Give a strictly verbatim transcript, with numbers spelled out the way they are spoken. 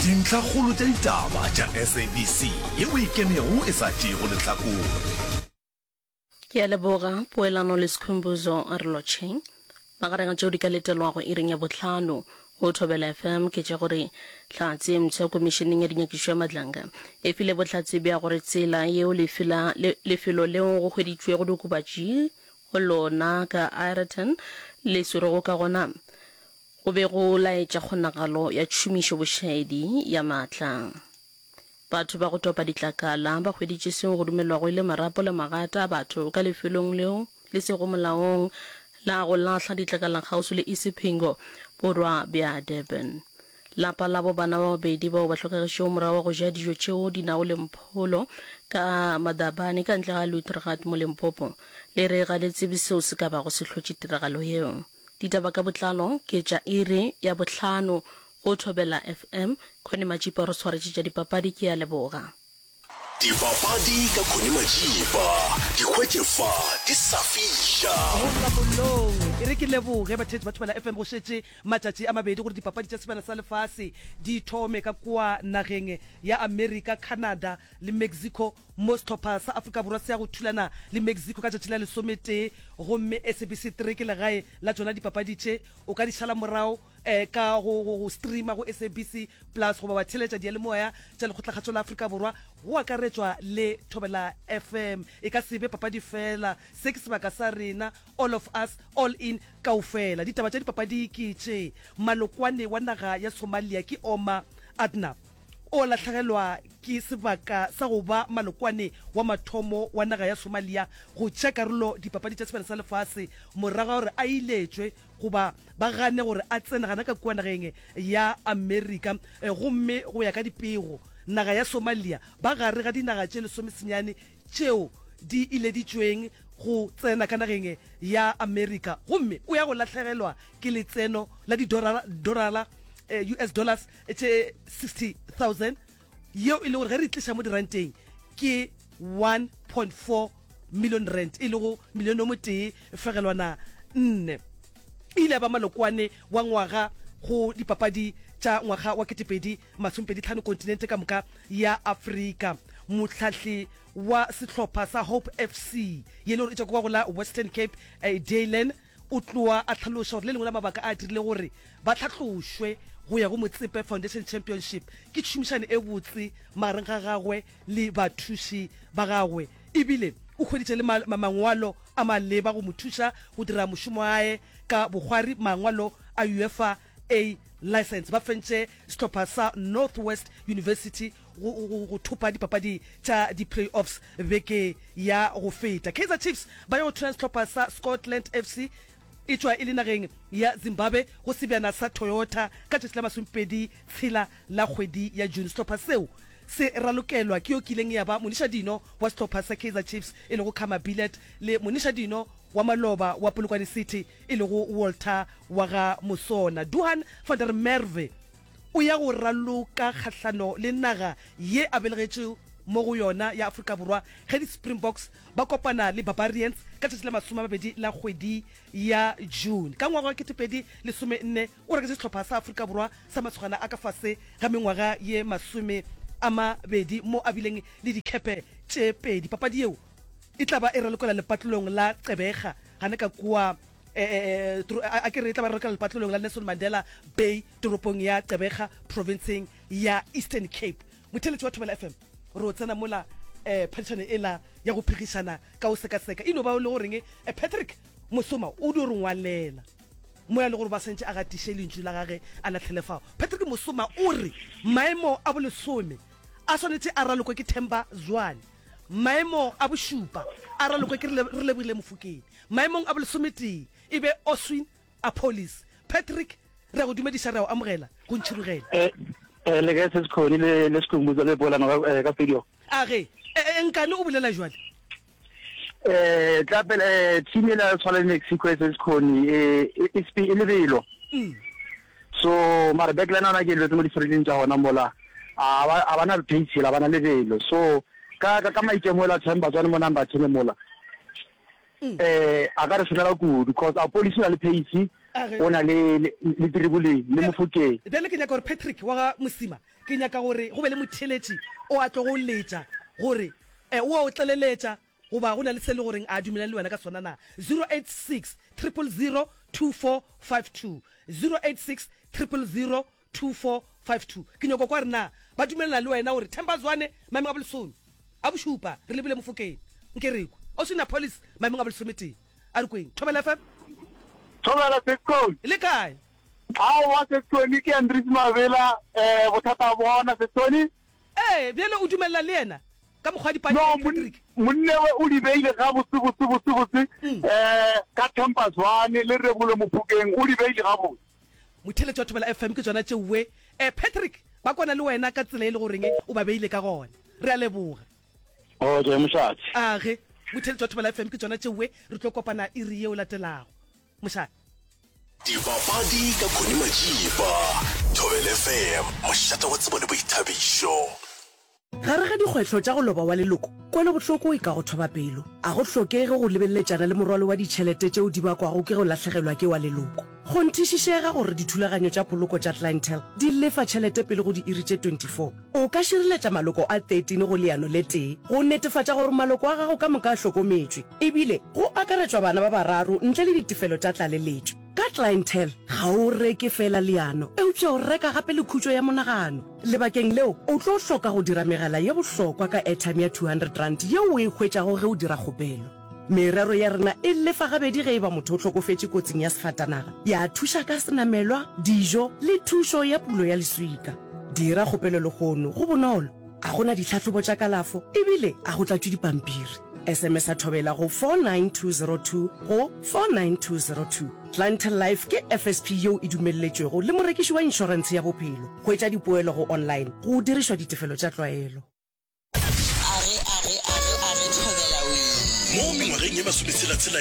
Dintlhakgolo tša ditaba tša S A B C yeo e ikemego e sa tšeego lehlakore. Ke a leboga Poelano le Skhumbuzo. A re lotšheng. Magareng a tšeo di ka letelwago iring ya bohlano go Thobela F M ke tša gore hlatse e mpsha Komišeneng ya Dinyakišo ya Madlanga e file bohlatse bja gore tsela yeo lefela, le, lefelo leo go hweditšwego diokobatši go lona ka Aeroton le swerwego ka gona go be go laetša kgonagalo ya tšhomišo bošaedi ya maatla. Batho ba go topa ditlakala ba hweditše seo go dumelwago e le marapo le magata a batho ka lefelong leo le sego molaong la go lahla ditlakala kgauswi le Isipingo, borwa bja Durban. Lapa labo bana ba babedi bao ba hlokagetšego morago ga go ja dijo tšeo di nago le mpholo ka Madabane ka ntle ga Luiteragat mo Limpopo le re ga le tsebe seo se ka bago se hlotše tiragalo yeo. Ditaba ka botlalo ke tša iri ya bohlano go Thobela F M. Connie Majipa o re swaretše tša dipapadi. Ke a leboga. Dipapadi ka Connie Majiba, di hwetše fa di sa fiša. Go tla mollong. E re ke leboge batheetši ba Thobela F M. Go šetše matšatši a mabedi gore dipapadi tša Sebjana sa Lefase di thome ka kua nageng ya Amerika, Canada le Mexico, mo sehlopha sa Afrika Borwa se ya go thulana le Mexico ka tšatši la lesometee, gomme S A B C three ke legae la tšona dipapadi tše. O ka di šala morago ka go, go, go streama go S A B C Plus goba wa theeletša diyalemoya tša Lekgotlakgatšo la Afrika Borwa go akaretšwa le Thobela F M. E ka se be papadi feela, se ke sebaka sa rena, all of us, all in, kaofela. Ditaba tša dipapadi ke tše, Malokwane wa naga ya Somalia ke Omar Adnab o lahlegelwa ke sebaka sa go ba malokwane wa mathomo wa naga ya Somalia go tšea karolo dipapadi tša Sebjana sa Lefase morago ga gore a iletšwe goba ba gane gore a tsene gana ka kua nageng ya Amerika. Gomme go ya ka dipego, naga ya Somalia ba gare ga dinaga tše lesomesenyane tšeo di ileditšweng go tsena ka nageng ya Amerika, gomme o ya go lahlegelwa ke letseno la didorala, U S dollars, tše sixty thousand, yeo e le gore ge re e tliša mo diranteng ke one point four million rand, e lego milione o motee fegelwana nne. E ile ya ba malokwane wa ngwaga go dipapadi tša ngwaga wa ketepedi masomepedi tlhano kontinente ka moka ya Afrika. Mohlahli wa sehlopha sa Hope F C ye le gore e tšwa kwa go la Western Cape, Daylan, o tloa a hlaloša gore le lengwe la mabaka a dirile gore ba hlahlošwe go ya go Motsepe Foundation Championship ke tšhomišano e botse magareng ga gagwe le bathuši ba gagwe, ebile o hweditše le mangwalo a maleba go mo thuša go dira mošomo wa hae ka bokgwari, mangwalo a UEFA A License. Ba fentše sehlopha sa North West University go, go, go thopa dipapadi tša di-playoffs beke ya go feta. Kaizer Chiefs ba ya go thula sehlopha sa Scotland F C e tšwa e le nageng ya Zimbabwe go sebjana sa Toyota ka tšatši la masomepedi tshela la kgwedi ya June. Sehlopha seo se ralokelwa ke yo kileng ya ba monišadino wa sehlopha sa Kaizer Chiefs e lego Khama Billiat le monišadino wa maloba wa Polokwane City e lego Walter wa ga Musona. Duhan van der Merwe o ya go raloka kgahlano le naga ye a belegetšwe mo go yona ya Afrika Borwa ge di-Springboks ba kopana le Barbarians ka tšatši la masome a mabedi la kgwedi ya June. Ka ngwaga wa ketepedi lesome nne o reketše sehlopha sa Afrika Borwa sa masogana a ka fase ga mengwaga ye masome a mabedi mo a bileng le dikepe tše pedi. Papadi yeo e tla ba e ralokela lepatlelong la Gqeberha gane ka kua, a ke re e tla ba ralokela lepatlelong la Nelson Mandela Bay toropong ya Gqeberha provinceng ya Eastern Cape. Motheeletši wa Thobela F M, re o tsena mola um phadišano ela ya go phegišana ka o sekaseka e no ba o le goreng Patrick Mosoma o dio re ngwalela moya le gore ba swantše a gatiše lentšu la gage a lahlele fao. Patrick Mosoma o re maemo a bolesome a swanetše a ralokwe ke Themba Zwane, maemo a bošupa a ralokwe ke Re Lebogile Mofokeng, maemong a bolesometee e be Oswin Appollis. Patrick, re a go dumediša, re a go amogela go Ntšhirogele. Eh, eh, le kae se Sekhoni le le Sekhumbuzo le polano ka, eh, ka studio? A ge, eh, eh, nkane o bolela jwale? Eh, tla pele, eh, team ela ya tshwana le Mexico e se Sekhoni, eh, e, e, e lebelo. Mm. So, mara backline ona ke lebetse mo di-friendly tša gona mola, a ba, a ba na pace, a ba na lebelo. So, ka, ka, ka maitemogelo a Themba Zwane mo number ten mola, Mm. eh, a ka re šomela kudu, cause Appollis o na le pace, Age. O na le le le Tiriboleng le Mofokeng. Bjale ke nyaka gore Patrick wa ga Mosima, ke nyaka gore go be le motheeletši o a tlogo letša gore eh, o a o tleleletša goba go na le se le goreng a dumelane le wena ka sona na. Zero eight six triple zero two four five two, zero eight six triple zero two four five two. Ke nyaka kwa gore na ba dumelana le wena gore Themba Zwane maemong a bolesome a bošupa re lebile Mofokeng, nke re kwe Oswin Appollis maemong a bolesometee. A re kweng. Thobela F M. Thobela Sescon. Le kae? Aowa Sescon, ke Andries Mabela, eh, bothata bona Sescon. Ee, bjale o dumelela le yena ka mokgwa wa dipadi, No, Patrick? monne we o di beile gabotse botse botse botse, eh, ka Themba Zwane le Rebolo Mofokeng, o di beile gabotse. Motheeletši wa Thobela F M ke tšona tšeoe. Eh, Patrick, ba kwana le wena ka tsela e le goreng o ba beile ka gona. Re a leboga. Okay, mošate. Age, motheeletši wa Thobela F M ke tšona tšeoe, re tlo kopana iri yeo latelago. Mošate. Dipapadi ka Connie Majiba, Thobela F M, mošate wa tsebo le boithabišo. Gare ga dikgwetlho tša go loba wa leloko, kwelobohloko e ka go thoba pelo. A go hlokege go lebeleletšana le morwalo wa ditšhelete tšeo di bakwago ke go lahlegelwa ke wa leloko. Kgonthišišega gore dithulaganyo tša poloko tša Clientele di lefa tšhelete pele go diiri tše twenty four. O ka šireletša maloko a thirteen go leano le tee go netefatša gore maloko a gago ka moka a hlokometšwe, ebile go akaretšwa bana ba bararo ntle le ditefelo tša tlaleletšo. Ka Clientele, ga o reke feela leano, eupša o reka gape le khutšo ya monagano. Lebakeng leo, o tlo hloka go dira megala ye bohlokwa ka airtime ya two hundred rand yeo o e hwetšago ge o dira kgopelo. Merero ya rena e lefa gabedi ge e ba motho o hlokofetše kotsing ya sefatanaga, ya thuša ka senamelwa, dijo le thušo ya pulo ya leswika. Dira kgopelo lehono, go bonolo, ga go na ditlhahlobo tša kalafo ebile ga go tlatšwe dipampiri. S M S a Thobela go four nine two zero two go four nine two zero two. Clientele Life ke F S P yeo e dumelletšwego le morekiši wa inšorentshe ya bophelo. Hwetša dipoelo go online go dirišwa ditefelo tša tlwaelo. Age, age, age, age, Thobela wee. Mo mengwageng ye masometshela-tshela